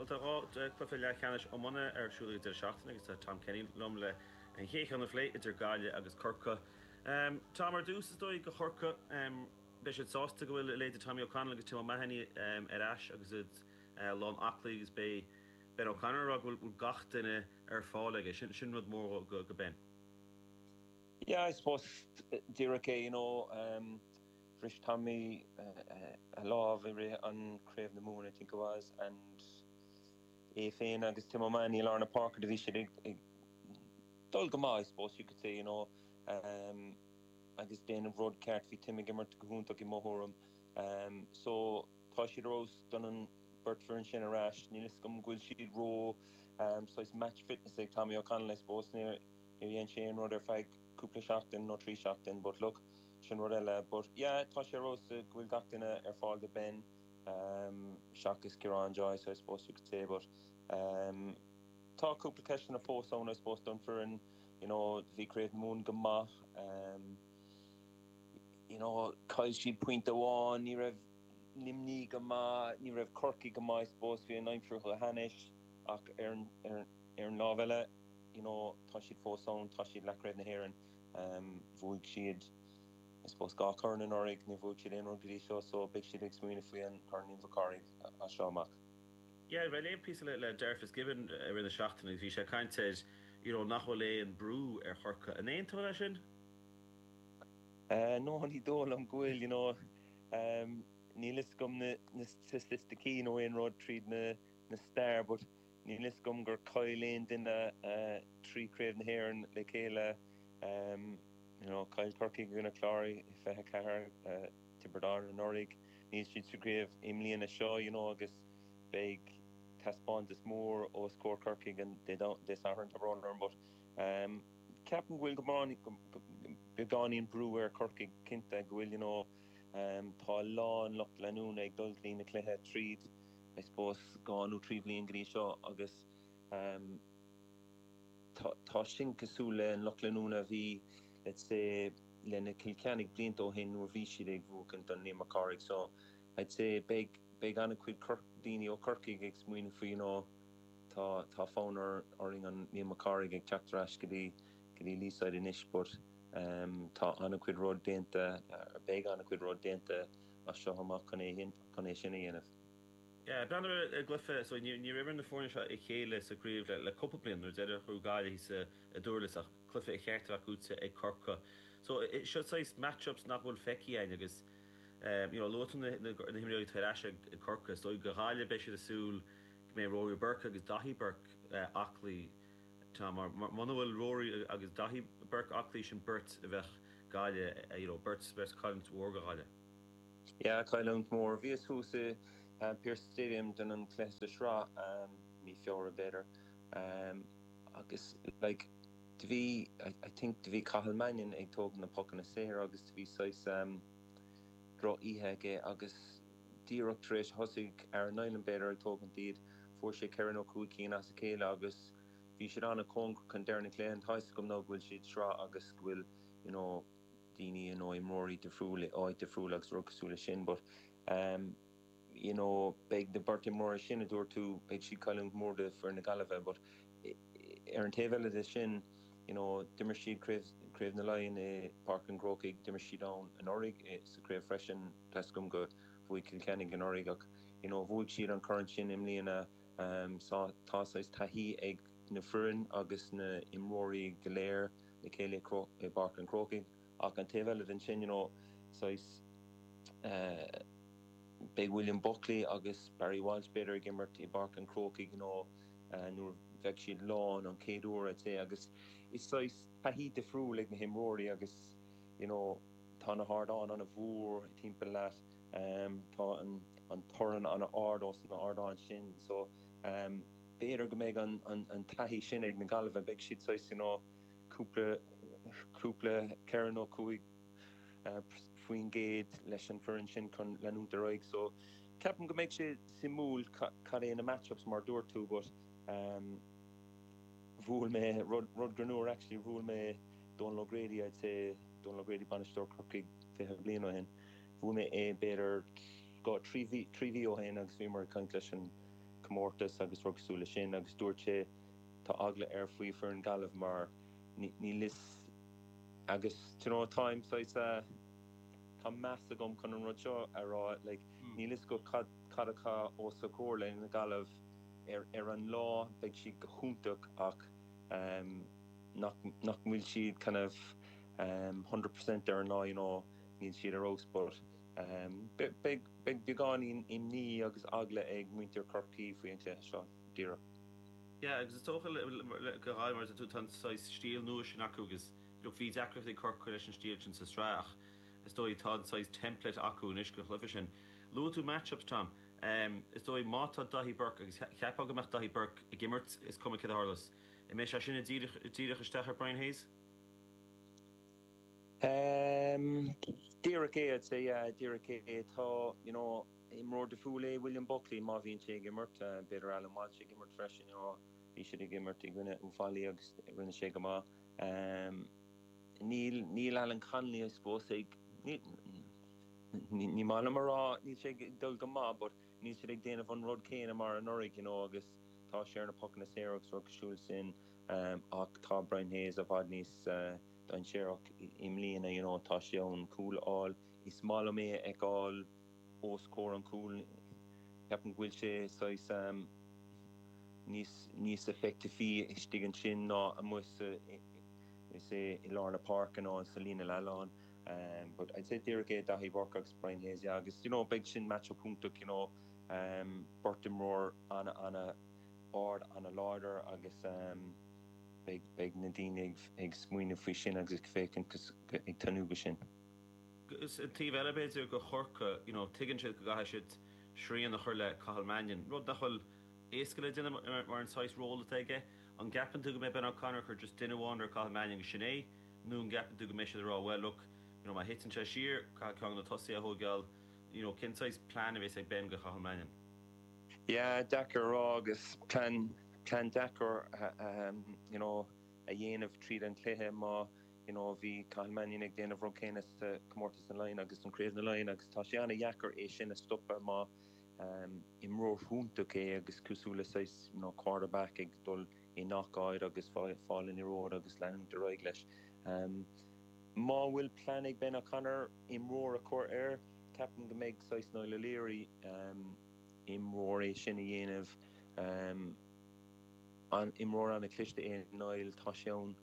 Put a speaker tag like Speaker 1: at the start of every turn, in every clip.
Speaker 1: Bhuel, tá 2 cluiche leathcheannais iomána ar siúl ag an deireadh seachtaine agus tá Tom Kenny liom le an chéad cheann a phlé idir Gaillimh agus Corcaigh. Tom, ar dtús, is dóigh do Chorcaigh, beidh siad sásta go bhfuil a leithéid de Tommy O'Connell agus Tim O'Mahony ar ais agus iad lán aclaí agus beidh Ben O'Connor ag rá go bhfuil gach duine ar fáil aige. Sin rud mór do Ben.
Speaker 2: Yeah, I suppose díreach é, you know, bhris Tommy a lámh i rith an Craobh na Mumhan, I think it was, and é féin agus Tim O'Mahony i lár na páirce, do bhí siad ag dul go maith, I suppose you could say, you know, agus déanamh rud ceart, bhí Tim ag imirt go hiontach i mo thuairim. So tá siad ar fheabhas don an beirt foireann sin ar ais, níl fhios agam go bhfuil siad ró saghas match fitness ag Tommy O'Connell, I suppose, níor dhein sé aon rud ar feadh cúpla seachtain nó 3 seachtain but look, sin rud eile. But yeah, tá sé ar fheabhas go bhfuil gach duine ar fáil do Ben seachas Ciarán Joyce, I suppose you could say, but tá cúpla ceisteanna fós ann, I suppose, don foireann, you know, bhí Craobh na Mumhan go maith, you know, chaill siad pointe amháin, ní raibh Luimnigh go maith, ní raibh Corcaigh go maith, I suppose, bhí an aimsir chomh hainnis ach ar an, ar an lámh eile, you know, tá siad fós ann, tá siad leathchraobh na hÉireann, bhuaigh siad, I suppose, 2 chorn anuraidh, níor bhuaigh siad aon rud go dtí seo, so beidh siad ag smaoineamh faoi an Corn Liam Mhic Cárthaigh as seo amach.
Speaker 1: Yeah, bhí léamh píosa le le Darragh Fitzgibbon i rith na seachtaine agus bhí sé ag caint ar, you know, nach bhfuil aon brú ar Chorcaigh. An aontófá leis sin?
Speaker 2: No, ní dóigh liom go bhfuil, you know, níl fhios agam na na staitisticí nó aon rud tríd na na stair but níl fhios agam gur chaill aon duine 3 Craobh na hÉireann le chéile, you know, chaill Corcaigh i gcoinne Clár i 24, Tiobraid Árann anuraidh, níl siad sa gcraobh i mbliana seo, you know, agus beidh taispeántas mór os comhair Corcaigh an Dé Sathairn, tá brón orm but ceapaim go bhfuil go beagáinín brú ar Chorcaigh cinnte, go bhfuil, you know, tá a lán lucht leanúna ag dul go dtí na cluiche tríd I suppose 2 nó 3 bhliain go dtí seo agus tá sin cosúil le an lucht leanúna a bhí let's say le na Cill Cheannaigh blianta ó shin nuair bhí siad ag buachaint an Liam Mac Cárthaigh so I'd say beidh beidh an-chuid daoine ó Chorcaigh ag smaoineamh faoi you know tá tá fonn orainn an Liam Mac Cárthaigh ag teacht ar ais go dtí go dtí Leeside anois but tá an-chuid rud déanta beidh an-chuid rud déanta as seo amach chun é chun é sin a dhéanamh.
Speaker 1: Yeah, breathnú ar an gcluiche, so níor imir na foirne seo a chéile sa gcraobh le cúpla bliain, nuair deireadh bhuaigh Gaillimh thíos i nDurlas ach cluiche a cheart a bheith buaite ag Corcaigh. So seo saghas match-ups nach bhfuil feicthe againn agus you know luaigh tú na himreoirí atá ar ais ag Corcaigh, is dóigh do Ghaillimh beidh siad ag súil go mbeidh Rory Burke agus Daithí Burke aclaí Tom, mar muna bhfuil Rory agus Daithí Burke aclaí sin beirt a bheadh Gaillimh you know beirt beirt cailliúint mhór do Ghaillimh.
Speaker 2: Yeah, cailliúint mhór. Bhíos thuas i Pearse Stadium don an cluiche sa sraith, mí Feabhra b'fhéidir, agus like do bhí, I think do bhí Cathal Mannion ag tógaint na pocanna saor agus do bhí saghas droch oíche aige agus díreach tar éis thosaigh Aaron Niland b'fhéidir ag tógaint iad, fuair sé ceithre nó cúig cinn as a chéile agus bhí siad an-chóngarach chun deireadh na cluiche and tá fhios agam now go bhfuil siad sraith agus go bhfuil you know daoine nó imreoirí difriúil i áit difriúil agus rud cosúil leis sin but ehm you know beidh na beirt imreoirí sin a dúirt tú beidh siad cailliúint mór do foireann na Gaillimhe but ar an taobh eile de sin you know d'imir siad craobh craobh na Laighean i Páirc an Chrócaigh d'imir siad ann anuraidh sa chraobh freisin tá fhios agam go bhuaigh Cill Chainnigh anuraidh ach you know bhuaigh siad an corn sin i mbliana ehm tá saghas taithí ag na foireann agus na imreoirí go léir le chéile i bPáirc an Chrócaigh ach an taobh eile den sin you know saghas eh beidh William Buckley agus Barry Walsh b'fhéidir ag imirt i bPáirc an Chrócaigh you know nuair bheidh siad lán an chéad uair I'd say agus is saghas taithí difriúil ag na himreoirí agus you know tá na hardáin an-mhór timpeall leat tá an an torann an-ard os na ardáin sin so b'fhéidir go mbeidh an an taithí sin ag na Gaillimhe beidh siad saghas you know cúpla cúpla 4 nó 5% leis an foireann sin chun leanúint ar aghaidh so ceapaim go mbeidh sé suimiúil cad é na match-ups mar dúirt tú but bhuail mé rud rud greannmhar actually bhuail mé Donal O'Grady I'd say Donal O'Grady bainisteoir Corcaigh 20 bliain ó shin bhuail mé é b'fhéidir 2 3 mhí 3 mhí ó shin agus bhíomar ag caint leis an. comórtas agus rud cosúil le sin agus dúirt sé tá eagla air faoi foireann Gaillimh mar níl fhios agus do you know táim saghas tá meas agam chun an rud seo a rá like níl fhios agat cad cad atá os a chomhair le na Gaillimh ar ar an lá beidh siad go hiontach ach nach nach bhfuil siad kind of 100% ar an lá you know níl siad ar fheabhas but Beidh beagáinín imní agus eagla ag muintir Chorcaí faoi an chluiche seo, díreach.
Speaker 1: Yeah, agus is dócha go Gaillimh, mar a deir tú, tá an saghas stíl nua sin acu agus look, bhí deacrachtaí ag Corcaigh leis an stíl sin sa sraith ach is dóigh tá an saghas template acu anois don chluiche sin. Luaigh tú match-ups, Tom. Is dóigh má tá Daithí Burke, agus cheapfá go mbeadh Daithí Burke ag imirt, is cuma céard a tharlós, an mbeidh sé sin ag díreach isteach ar Brian Hayes?
Speaker 2: Díreach é, I'd say, yeah, díreach é. Tá, you know, imreoir difriúil é William Buckley má bhíonn sé ag imirt, b'fhéidir Alan Walsh ag imirt freisin, you know, bhí siad ag imirt i gcoinne Uíbh Fhailí agus rinne sé go maith. Níl, níl Alan Connolly, I suppose, ag, ní, ní maith liom a rá, níl sé ag dul go maith but níl siad ag déanamh an rud céanna mar anuraidh, you know, agus tá sé ar na pocanna saora agus rud cosúil sin ach tá Brian Hayes i bhfad níos dainséarach i mbliana, you know, tá sé ann cúl a fháil. Is maith liom é a fheiceáil os comhair an chúil. Ceapaim go bhfuil sé saghas níos níos effective istigh ansin ná amuigh sa is é i lár na páirce nó sa líne leathláin. But I'd say díreach é Daithí Burke agus Brian Hayes, yeah, agus you know beidh sin match-up iontach, you know, beirt imreoir ana ana ard, ana láidir agus Beidh na daoine ag smaoineamh faoi sin agus ag féachaint ag tnúth go sin.
Speaker 1: Agus an taobh eile b'fhéidir go Chorcaigh, you know, tuigeann siad go gcaithfidh siad srian a chur le Cathal Mannion, rud nach bhfuil éasca le déanamh mar an saghas ról atá aige. An gceapann tú go mbeidh Ben O'Connor ag cur just duine amháin ar Cathal Mannion agus sin é, nó an gceapann tú go mbeidh siad ag rá well look, you know, má thiteann sé siar, caithfidh ceann de na tosaithe a thóigeáil, you know, cén saghas plean a bheas ag Ben go Cathal Mannion?
Speaker 2: Yeah, deacair a rá agus plean plean deacair you know a dhéanamh tríd an chluiche má you know bhí Cathal Mannion ag déanamh rud céanna sa comórtas na Laighean agus an Craobh na Laighean agus tá sé ana-dheacair é sin a stopadh má imreoir iontach é agus cosúil le saghas you know quarterback ag dul i ngach áit agus fáil an liathróid agus leanúint ar aghaidh leis. Má bhfuil plean ag Ben O'Connor imreoir a chur air, ceapaim go mbeidh saghas Niall O'Leary imreoir é sin a dhéanamh. An imreoir ana-chliste é Niall, tá sé ann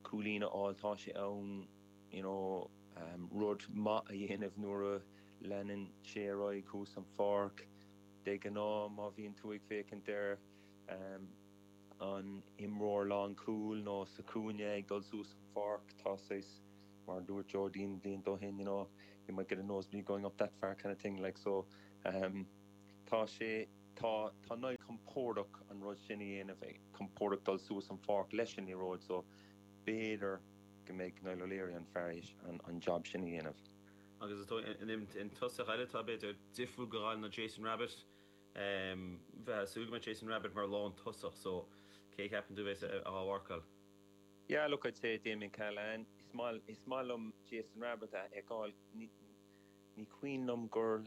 Speaker 2: cúilín a fháil, tá sé ann you know rud maith a dhéanamh nuair a leanann sé ar aghaidh thuas an pháirc. De ghnáth má bhíonn tú ag féachaint ar an imreoir lánchúil nó sa chúinne ag dul suas an pháirc, tá saghas, mar a dúirt Joe Deane blianta ó shin, you know, you might get a nosebleed going up that far kind of thing like so tá sé, Tá, tá Niall compordach an rud sin a dhéanamh, compordach dul suas an pháirc leis an liathróid so b'fhéidir go mbeidh Niall O'Leary an fear an job sin a dhéanamh.
Speaker 1: Agus is dóigh an tosach eile atá b'fhéidir difriúil go Gaillimh ná Jason Rabbitte. Bheifeá ag súil go mbeadh Jason Rabbitte mar lán tosach so cé a cheapann tú a bheas á mharcáil?
Speaker 2: Yeah look I'd say Damien Cahalane. Is maith, is maith liom Jason Rabbitte a fheiceáil. Ní, ní cuimhin liom gur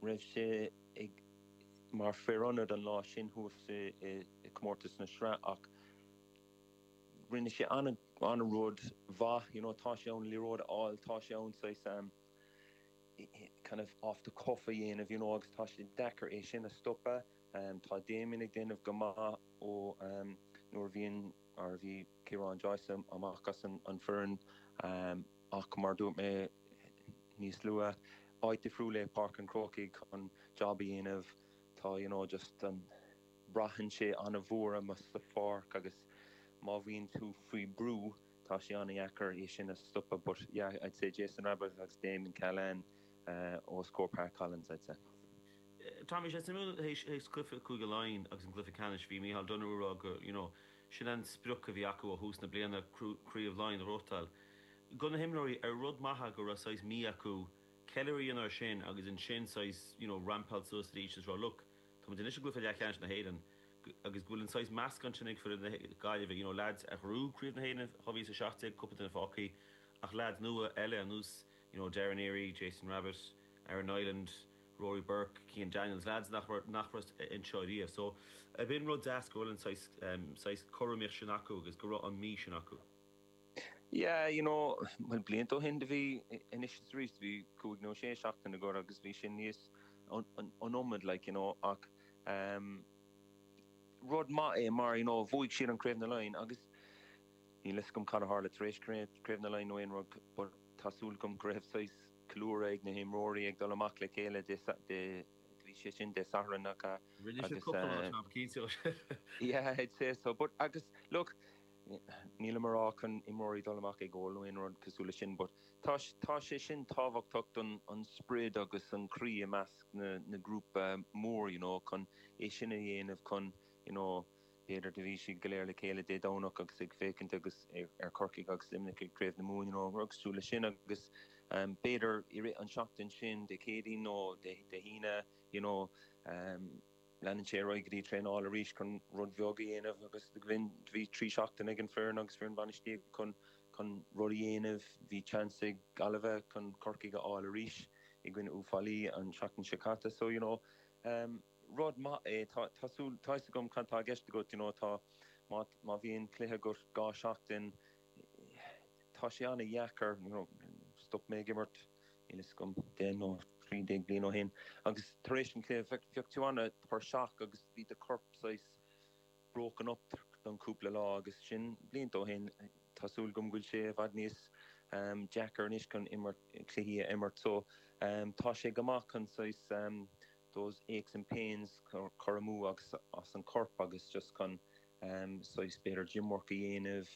Speaker 2: raibh sé ag mar fear ionaid an lá sin thuas i gcomórtas na sraith ach rinne sé an-rud mhaith, you know, tá sé ann liathróid a fháil, tá sé ann saghas kind of off the cuff a dhéanamh, you know, agus tá sé deacair é sin a stopadh. Tá Damien ag déanamh go maith ó nuair a bhíonn, mar a bhí Ciarán Joyce amach as an foireann ach mar a dúirt mé níos luaithe, áit difriúil é Páirc an Chrócaigh chun job a dhéanamh. Tá you know just an, braitheann sé an-mhór amuigh sa pháirc agus má bhíonn tú faoi brú tá sé an-dheacair é sin a stopadh but yeah I'd say Jason Rabbitte agus Damien Cahalane os comhair Pat Collins I'd say.
Speaker 1: Tom, bhí sé suimiúil théis cluiche Cúige Laighean agus an cluiche ceannais, bhí Micheál Donoghue ag rá go, you know, sin an sprioc a bhí acu ó thús na bliana, Craobh Laighean a ghnóthachtáil. Do na himreoirí, ar rud maith é go raibh saghas mí acu ceiliúradh a dhéanamh air sin agus ansin saghas, you know, rampáil suas arís is rá look, tá muid anois i gcluiche leathcheannais na hÉireann agus go bhfuil an saghas meascán sin ag foireann na Gaillimhe, you know, lads a ghnóthaigh Craobh na hÉireann 2017, cúpla duine fágtha ach lads nua eile ar nós, you know, Darren Neary, Jason Rabbitte, Aaron Niland. Rory Burke, Cian Daniels, lads nach raibh nach raibh anseo riamh. So b'in rud deas go bhfuil an saghas saghas cothromaíocht sin acu agus go raibh an mí sin acu.
Speaker 2: Yeah, you know, bhuel blianta ó shin do bhí, anois is arís, do bhí cúig nó sé seachtain agat agus bhí sin níos, an iomad like, you know, ach ehm rud maith é mar, you know, bhuaigh siad an Craobh na Laighean agus níl fhios agam cad a tharla tar éis Craobh na Laighean nó aon rud but tá súil agam go raibh saghas ceiliúradh ag na himreoirí ag dul amach le chéile Dé, Dé, bhí sé sin Dé Sathairn nach ea?
Speaker 1: Rinne siad cúpla lá
Speaker 2: seans cinnte. Yeah, I'd say so. But agus look, nílim ag rá chun imreoirí dul amach ag ól nó aon rud cosúil leis sin but tá, tá sé sin tábhachtach don an sprid agus an croí i measc na, na grúpa mór you know chun é sin a dhéanamh chun you know B'fhéidir do bhí siad go léir le chéile Dé Domhnach agus ag féachaint agus ar Chorcaigh agus Luimneach ag Craobh na Mumhan, you know, rud cosúil leis sin agus b'fhéidir i rith an seachtain sin, Dé Céadaoin nó Dé hAoine, you know, leanann sé ar aghaidh go dtí traenáil arís chun rud bheag a dhéanamh agus bhí 3 seachtain ag an foireann agus foireann bainistíocht chun chun rud a dhéanamh. Bhí chance ag Gaillimhe chun Corcaigh a fháil arís i gcoinne Uíbh Fhailí an seachtain seo caite so, you know, rud maith é. Tá, tá súil, tá fhios agam cad tá i gceist agat, you know, tá, má, má bhíonn cluiche agat 2 seachtain, tá sé an-dheacair, you know, stop mé ag imirt, níl fhios agam, 10 nó 13 bliain ó shin, agus tar éis an chluiche, bheadh, bheadh tú an-tuirseach agus bhí do chorp saghas broken up don cúpla lá agus sin blianta ó shin, tá súil agam go bhfuil sé i bhfad níos deacair anois chun imirt, cluichí a imirt so tá sé go maith chun saghas those aches and pains cur amú agus as an corp agus just chun saghas b'fhéidir gym work a dhéanamh,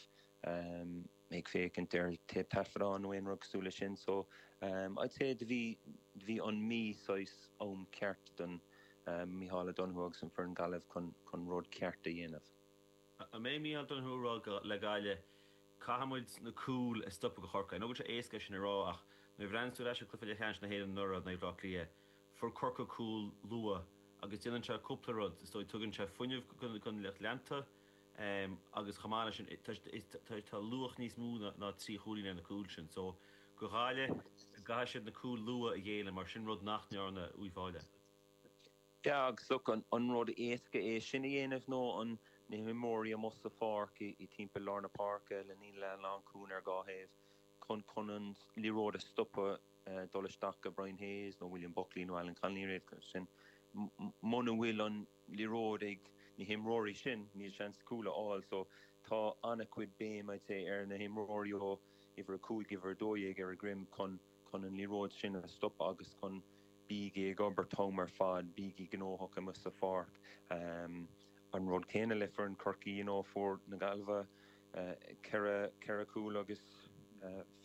Speaker 2: ag féachaint ar téip taifeadán nó aon rud cosúil leis sin so I'd say do bhí, do bhí an mí saghas am ceart don Micheál O'Donoghue agus an foireann Gaillimh chun, chun rud ceart a dhéanamh.
Speaker 1: An mbeidh Micheál Donoghue ag rá le Gaillimh, caithfidh muid na cúil a stopadh do Chorcaigh? I know go bhfuil sé éasca é sin a rá ach nuair a bhreathnaíonn tú ar ais ar cluiche leathcheannais na hÉireann anuraidh in aghaidh Bhaile Átha Cliath, fuair Corcaigh cúl luath agus déanann sé cúpla rud, is dóigh, tugann sé fuinneamh don lucht leanta agus chomh maith leis sin tá luach níos mó ná 3 chúilín ar na cúil sin. So, do Ghaillimh, caithfidh siad na cúil luath a ghéilleadh mar sin rud nach ndearna Uíbh Fhailí.
Speaker 2: Yeah agus look, an rud éasca é sin a dhéanamh nó an na himreoirí amuigh sa pháirc i timpeall lár na páirce le líne lánchúil ar dhá thaobh chun chun an liathróid a stopadh dul isteach go Brian Hayes nó William Buckley nó Alan Connolly nó iad sin. Muna bhfuil an liathróid ag na himreoirí sin, níl seans cúl a fháil so tá an-chuid béim I'd say ar na himreoirí ó uimhir 5, uimhir 12 ar a dhroim chun chun an liathróid sin a stopadh agus chun bígí ag obair an t-am ar fad, bígí gnóthach amuigh sa pháirc. An rud céanna le foireann Chorcaí, you know, fuair na Gaillimhe 4, 4 chúl agus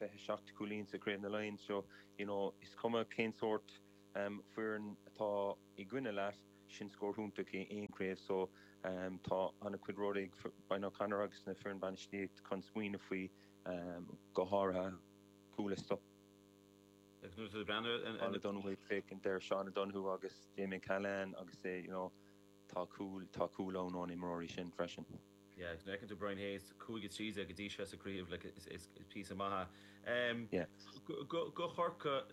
Speaker 2: 27 cúilín sa Craobh na Laighean so, you know, is cuma cén sórt foireann atá i gcoinne leat, sin scór iontach i aon chraobh so tá an-chuid rud ag Brian O'Connor agus na foireann bainistíocht chun smaoineamh faoi, go háirithe cúil a stopadh.
Speaker 1: Agus nuair atá tú ag breathnú ar
Speaker 2: an. O'Donoghue ag féachaint ar Seán O'Donoghue agus Damien Cahalane agus é, you know, tá cúl, tá cúl ann ón imreoirí sin freisin.
Speaker 1: Yeah, agus nuair a fheiceann tú Brian Hayes, 5 13 go dtí seo sa craobh, like, is, is píosa maith é.
Speaker 2: Yeah.
Speaker 1: Go, go Chorcaigh,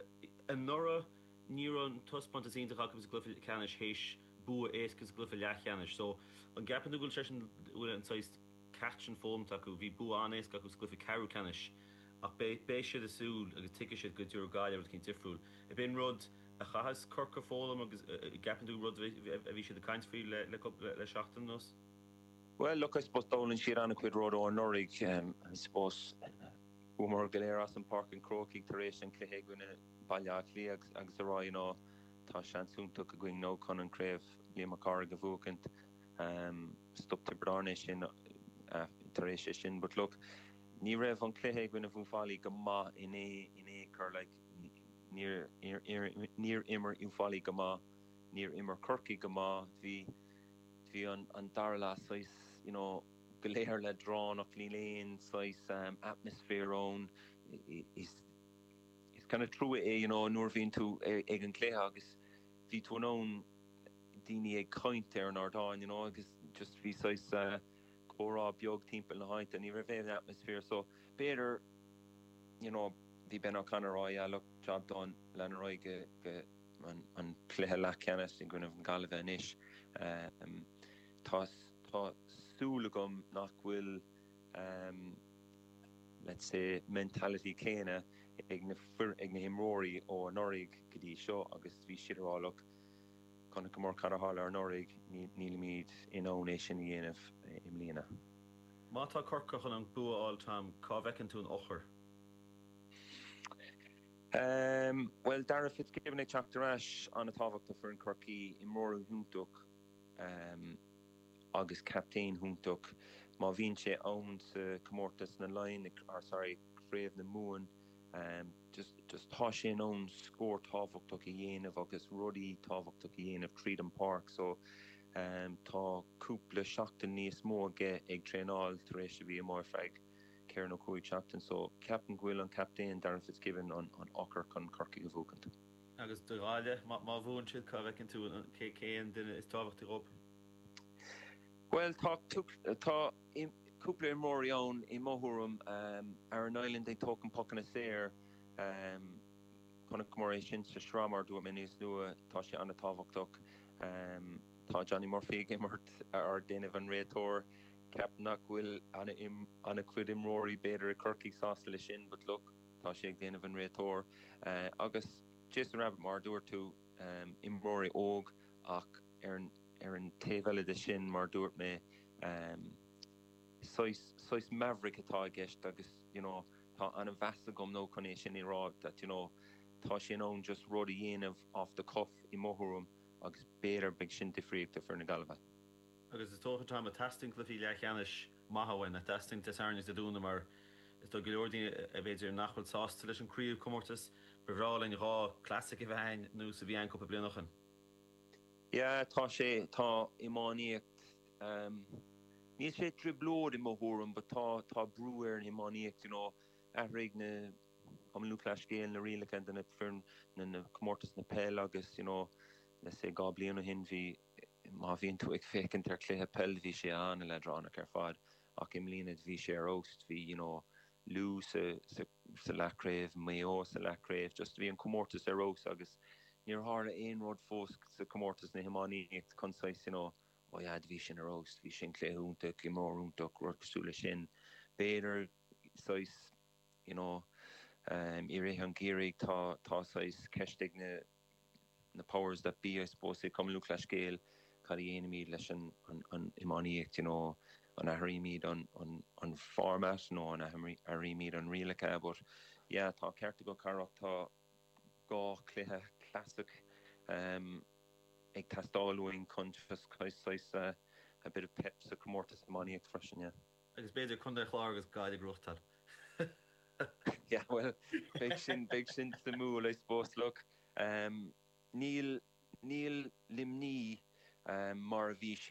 Speaker 1: anuraidh ní raibh an taispeántas iontach acu sa gcluiche ceannais théis bua éasca sa gcluiche leathcheannais. So, an gceapann tú go bhfuil sé sin, go bhfuil an saghas ceacht sin foghlamtha acu? Bhí bua an-éasca acu sa gcluiche ceathrú ceannais ach beidh, beidh siad ag súil agus tuigfidh siad go dtabharfaidh Gaillimh rud eicínt difriúil. Ab in rud a chaithfeas Corcaigh foghlaim agus gceapann tú rud a bhí siad ag caint faoi le, le, le seachtain anuas?
Speaker 2: Bhuel, look, I suppose d'fhoghlaim siad an-chuid rud ó anuraidh. I suppose chuamar go léir as an Páirc an Chrócaigh tar éis an cluiche i gcoinne Baile Átha Cliath agus a rá, you know, tá seans iontach againn now chun an craobh Liam Mac Cárthaigh a bhuachaint. Stop Tiobraid Árann é sin tar éis é sin. But look, ní raibh an cluiche i gcoinne Uíbh Fhailí go maith in aon chor, like, níor, níor imir Uíbh Fhailí go maith, níor imir Corcaigh go maith, bhí, Bhí an dara leath saghas, you know, go léir leadránach, níl aon saghas atmosphere ann. Is kind of trua é, you know, nuair a bhíonn tú ag an gcluiche agus bhí tú in ann daoine ag caint ar an ardán, you know, agus just bhí saghas comhrá beag timpeall na háite, ní raibh aon atmosphere. So b'fhéidir, you know, bhí Ben O'Connor á rá, yeah, look, job done, lean ar aghaidh go, go. An cluiche leathcheannais i gcoinnibh na Gaillimhe anois. Tá tá súil agam nach bhfuil let's say mentality céanna ag na ag na himreoirí ó anuraidh go dtí seo agus bhí siad ag rá look chonaiceamar cad a tharla anuraidh, nílimid in ann é sin a dhéanamh i mbliana.
Speaker 1: Má tá Corcaigh chun an bua a fháil Tom, cá bhfeiceann tú an eochair?
Speaker 2: Bhuel, Darragh Fitzgibbon ag teacht ar ais, an-tábhachtach do foireann Chorcaí, imreoir iontach agus captaen iontach. Má bhíonn sé ann sa comórtas na Laighean, or sorry, Craobh na Mumhan, just just tá sé in ann scór tábhachtach a dhéanamh agus rudaí tábhachtach a dhéanamh tríd an páirc so tá cúpla seachtain níos mó aige ag traenáil tar éis a bhí amuigh ar feadh 4 nó 5 seachtain so ceapaim go bhfuil an captaen Darragh Fitzgibbon an eochair chun Corcaigh a bhuachaint.
Speaker 1: Agus do Ghaillimh, má bhuann siad, cá bhfeiceann tú cé cén duine is tábhachtaí dhóibh?
Speaker 2: Bhuel tá tá cúpla imreoirí ann i mo thuairim. Aaron Niland ag tógaint pocanna saor. Chonaiceamar é sin sa sraith mar a dúirt mé níos luaithe, tá sé an-tábhachtach. Tá Johnny Murphy ag imirt ar déanamh an réiteoir. Ceapaim nach bhfuil an-chuid imreoirí b'fhéidir i Corcaigh sásta leis sin but look, tá sé ag déanamh an réiteoir. Agus Jason Rabbitte mar a dúirt tú, imreoirí óg ach ar ar an taobh eile de sin mar a dúirt mé, saghas, saghas maverick atá i gceist agus you know tá an-mheas agam nó chun é sin a rá that you know tá sé in ann just rud a dhéanamh off the cuff i mo thuairim agus b'fhéidir beidh sin difríocht do fir na Gaillimhe.
Speaker 1: Agus is dócha, Tom, teastaíonn cluichí leathcheannais maithe uainn, nach dteastaíonn Dé Sathairn agus Dé Domhnaigh mar is dóigh go leor daoine b'fhéidir nach bhfuil sásta leis an craobhchomórtas. Ba bhreá linn 2 classic a bheith a'inn nós a bhí a'inn cúpla bliain ó shin.
Speaker 2: Yeah, tá sé, tá iomaíocht, níl sé trioblóid i mo thuairim but tá, tá brú ar an iomaíocht, you know, athraigh na, Cumann Lúthchleas Gael na rialacha do na foireann, na, na comórtas na peil agus, you know, let's say 2 bliain ó shin bhí, Má bhíonn tú ag féachaint ar chluiche peil bhí sé an-leadránach ar fad ach i mbliana bhí sé ar fheabhas. Bhí you know Lú sa sa sa leathchraobh, Maigh Eo sa leathchraobh, just bhí an comórtas ar fheabhas agus níor tharla aon rud fós sa comórtas na hiománaíocht chun saghas you know oh yeah bhí sin ar fheabhas, bhí sin cluiche iontach, imreoir iontach, rud cosúil leis sin. B'fhéidir saghas you know i rith an gheimhridh tá tá saghas ceist ag na na powers that be I suppose i Cumann Lúthchleas Gael cad a dhéanaimid leis an an iománaíocht you know an athraímid an an an format nó an athraímid an rialacha but yeah tá ceart agat Carach tá 2 chluiche classic um ag teastáil uainn chun just saghas a bit of pep sa chomórtas iománaíocht freisin yeah.
Speaker 1: Agus b'fhéidir Contae an Chláir agus Gaillimh a ghnóthachtáil.
Speaker 2: Yeah, well, beidh sin, beidh sin suimiúil, I suppose. Look, um, níl, níl Luimnigh um, mar a bhí siad.